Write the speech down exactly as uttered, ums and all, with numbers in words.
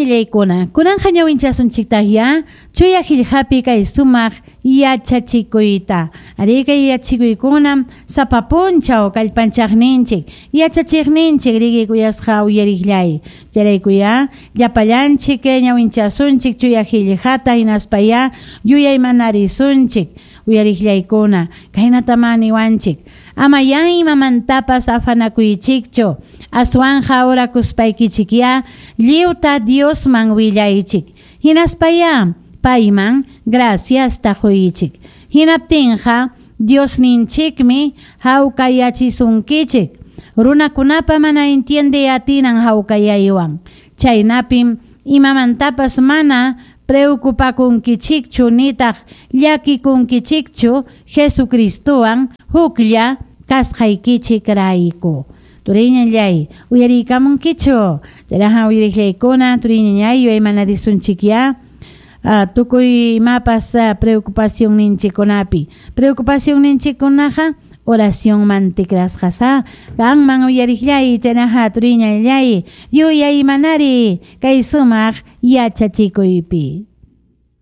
Turiñallaykuna, kunanqa ñawinchasunchiktaqya chuya qillqapi kay sumaq yachachikuyta. Arí kay yachachikuykunam sapa punchaw kallpanchaqninchik, yachachiqninchik riki kuyasqa uyariqllay. Chayraykuya llapallanchik ñawinchasunchik chuya qillqata hinaspaya yuyaymanarisunchik uyariqllaykuna. Kaynatamá niwanchik. Ama ya imamantapas afanakuychikchu, aswanja orakuspaykichikya lliwta Diosman willaychik. Hinaspaya payman graciasta quychik. Hinaptinqa Diosninchikmi hawkayachisunkichik. Runakunapa mana entiende atinan hawkayaywan. Chaynapim imamantapas mana preocupakunkichikchu nitaq llakikunkichikchu Jesucristowan huklla kasqaykichik rayku. Turiñallay, uyariykamunkichu. Chayraqa uyariqllaykuna, turiñallay, yuyaymanarisunchikya. Uh, tukuy imapas uh, preocupación ninchikkunapi. Preocupación ninchikkunaqa oracionman tikrasqasa. Qanman uyariqllay, chaynaqa turiñallay, yuyaymanari kay sumaq yachachikuypi.